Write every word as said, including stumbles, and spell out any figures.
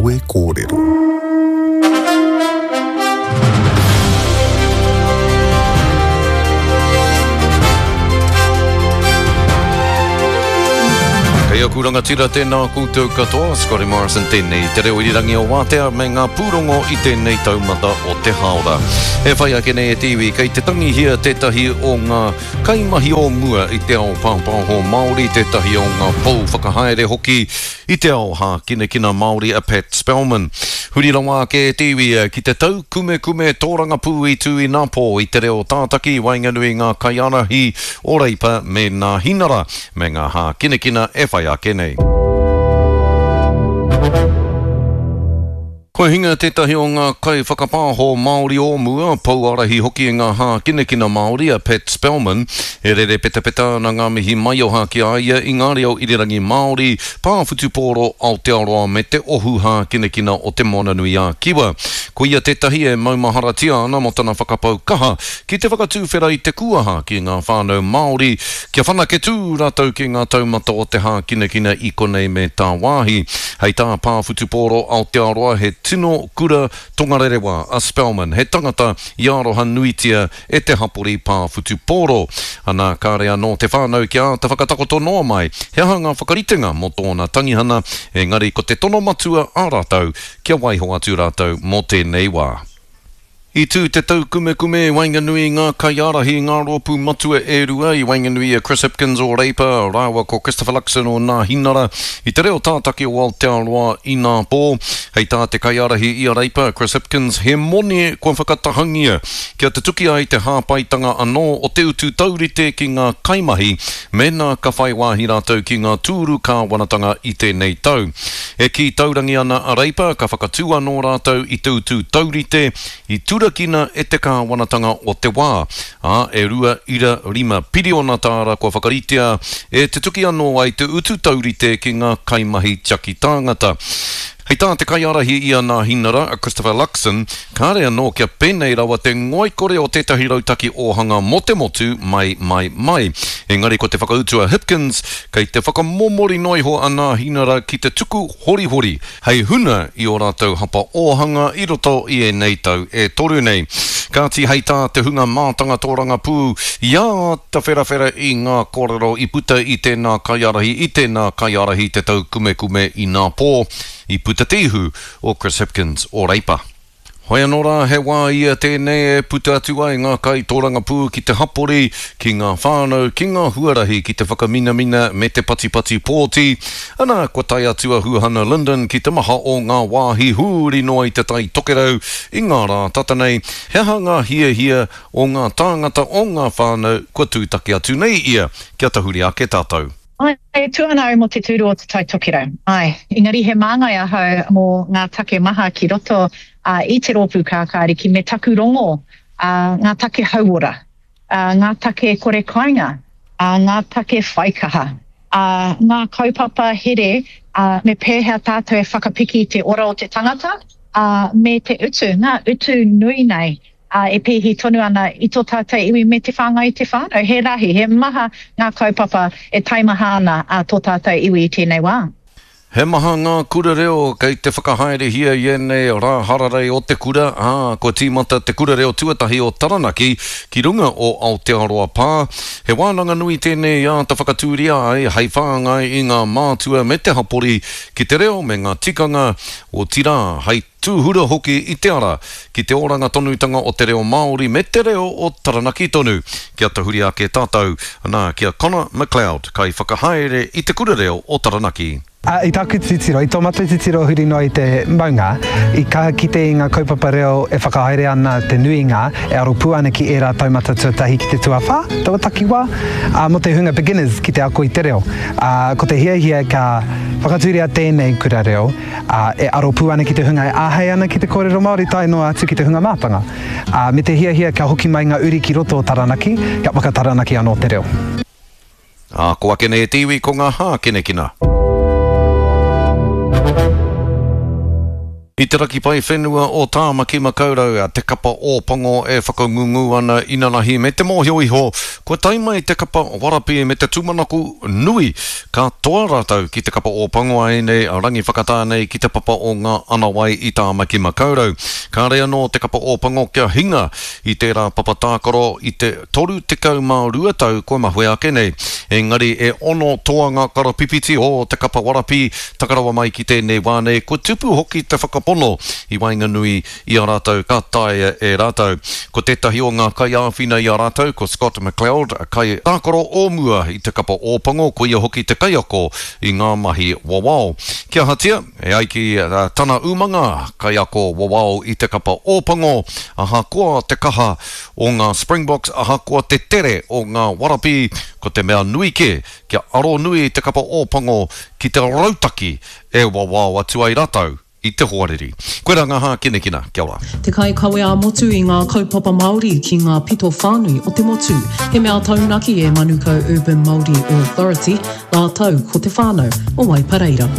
Kawe Kōrero. Kei aku rangatira tēnā koutou katoa, Scotty Morrison tēnei, te reo irirangi o Wātea me ngā pūrongo i tēnei taumata o te haora. E whai ake nei e te iwi, kei te tangihia tētahi o ngā kaimahi o mua i te ao pāpāho Māori, tētahi o ngā pou whakahaere hoki i te ao hākinakina Māori a Pat Spellman. Huri rawa ake e te iwi ki te taukumekume tōrangapū i tū inapō i te reo tātaki waenganui ngā kaiārahi o Reipa me Nāhinara me ngā hākinakina e whai ake nei. Kua hinga tētahi o ngā kaiwhakapāho Māori o mua, pouārahi hoki i ngā hākinakina Māori a Pat Spellman, e rere petapeta ana ngā mihi maioha ki a ia i ngā reo irirangi Māori, pā whutupōro Aotearoa me te ohu hākinakina o Te Moananui-a-Kiwa. Ko ia tētahi e maumaharatia ana mō tana whakapau kaha ki te whakatūwhera i te kuaha ki ngā whānau Māori, kia whanake tū rātou ki ngā taumata o te hākinakina i konei me tāwāhi. Hei tā pā whutupōro Aotearoa he tino kura tongarerewa a Spellman, he tangata i aroha nuitia e te hapori pā whutupōro. Ana kāre anō te whānau kia āta whakatakoto noa mai, he aha ngā whakaritenga mō tōna tangihana, engari ko te tono matua a rātou, kia waiho atu rātou mō tēnei wā. I tū te taukumekume i waenganui ngā kaiārahi ngā rōpū matua e rua i waenganui a Chris Hipkins o Reipa, rāua ko Christopher Luxon o Nāhinara i te reo tātaki o Aotearoa inapō. Hei tā te kaiārahi i a Reipa, Chris Hipkins, he moni kua whakatahangia kia tutuki ai te hāpaitanga anō o te utu taurite ki ngā kaimahi mēnā ka whai wāhi rātou ki ngā tūru kāwanatanga i tēnei tau. E kī taurangi ana a Reipa, ka whakatū anō rātou i te utu taurite i turakina e te kāwanatanga o te wā. Ā, e rua ira rima piriona tāra kua whakaritea e tutuki anō ai te utu taurite ki ngā kaimahi tiaki tāngata. Hei tā te kaiārahi i a Nāhinara, a Christopher Luxon, kāre anō kia pēnei rawa te ngoikore o tētahi rautaki ōhanga mō te motu mai, mai, mai. Engari ko te whakautu a Hipkins, kei te whakamomori noa iho a Nāhinara ki te tuku horihori, hei huna i ō rātou hapa ōhanga i roto i ēnei tau e toru nei. Kāti hei tā te hunga mātanga tōrangapū i āta wherawhera i ngā kōrero i puta i tēnā kaiārahi, i tēnā kaiārahi te taukumekume inapō, i puta te ihu o Chris Hipkins o Reipa. Hoi anō rā, he wā ia tēnei e puta atu ai ngā kai tōrangapū ki te hapori, ki ngā whānau, ki ngā huarahi, ki te whakaminamina me te patipati pōti. Ana, kua tae atu a Huhana Lyndon ki te maha o ngā wāhi huri noa i te Tai Tokerau i ngā rā tata nei. He aha ngā hiahia o ngā tāngata o ngā whānau kua tūtaki atu nei ia, kia tahuri ake tātou. Ai, e tū ana au mō te tūru o te Tai Tokerau. Ai, engari he māngai ahau mō ngā take maha ki roto uh, i te rōpū kākāriki me taku rongo, uh, ngā take hauora, uh, ngā take kore kāinga, uh, ngā take whaikaha, uh, ngā kaupapa here, uh, me pēhea tātou e whakapiki te ora o te tangata, uh, me te utu, ngā utu nui nei. Uh, e pēhi tonu ana i tō tātou iwi me te whāngai i te whānau. He rahi, he maha ngā kaupapa e taimaha ana a tō tātou iwi i tēnei wā. He maha ngā kura reo kei te whakahaerehia i ēnei rā hararei o te kura, ā, kua tīmata te kura reo tuatahi o Taranaki ki runga o Aotearoa Pā. He wānanga nui tēnei āta whakatūria ai hei whāngai i ngā mātua me te hapori ki te reo me ngā tikanga, otirā hei tūhura hoki i te ara ki te oranga tonutanga o te reo Māori me te reo o Taranaki tonu. Kia tahuri ake tātou, nā, ki a Connor McLeod, kai whakahaere i te kura reo o Taranaki. Uh, i tāku titiro, i tō mātou titiro huri noa i te maunga, i kaha kite i ngā kaupapa reo e whakahaere ana te nuinga, e aro pū ana ki ērā taumata tuatahi ki te tuawhā, taua takiwā, uh, mō te hunga beginners ki te ako i te reo. Uh, ko te hiahia ka whakatūria tēnei kura reo, uh, e aro pū ana ki te hunga e āhei ana ki te kōrero Māori tae noa atu ki te hunga mātanga. Uh, me te hiahia kia hoki mai ngā uri ki roto o Taranaki, kia whakataranaki anō te reo. Ā, ko ake nei e te iwi ko ngā hākinakina. I te raki pae whenua o Tāmaki Makaurau, te kapa Ōpango e whakangungu ana inanahi me te mōhio iho kua tae mai te kapa Warapi me te tūmanako nui ka toa rātou ki te kapa Ōpango a ēnei rangi whakatā nei ki te papa o ngā anawai i Tāmaki Makaurau. Kāre anō te kapa Ōpango kia hinga i tērā papa tākaro i te toru tekau mā rua tau kua mahue ake nei. Engari e ono toanga karapipiti o te kapa Warapi taka rawa mai ki tēnei wā nei kua tupu hoki te whakapono i waenganui i a rātou ka taea e rātou. Ko tētahi o ngā kaiāwhina i a rātou ko Scott McLeod, kaitākaro o mua i te kapa Ōpango, ko ia hoki te kaiako i ngā mahi wawao. Kia ahatia, e ai ki tana umanga, kaiako wawao i te kapa Ōpango, ahakoa te kaha o ngā Springboks, ahakoa te tere o ngā Warapi, ko te mea nui kē kia aro nui te kapa Ōpango ki te rautaki e wawao atu ai rātou i te hoariri. Koirā ngā hākinakina, kia ora. Te kaikawe ā-motu i ngā kaupapa Māori ki ngā pito whānui o te motu. He mea taunaki e Manukau Urban Māori Authority rātou ko te whānau o Waipareira.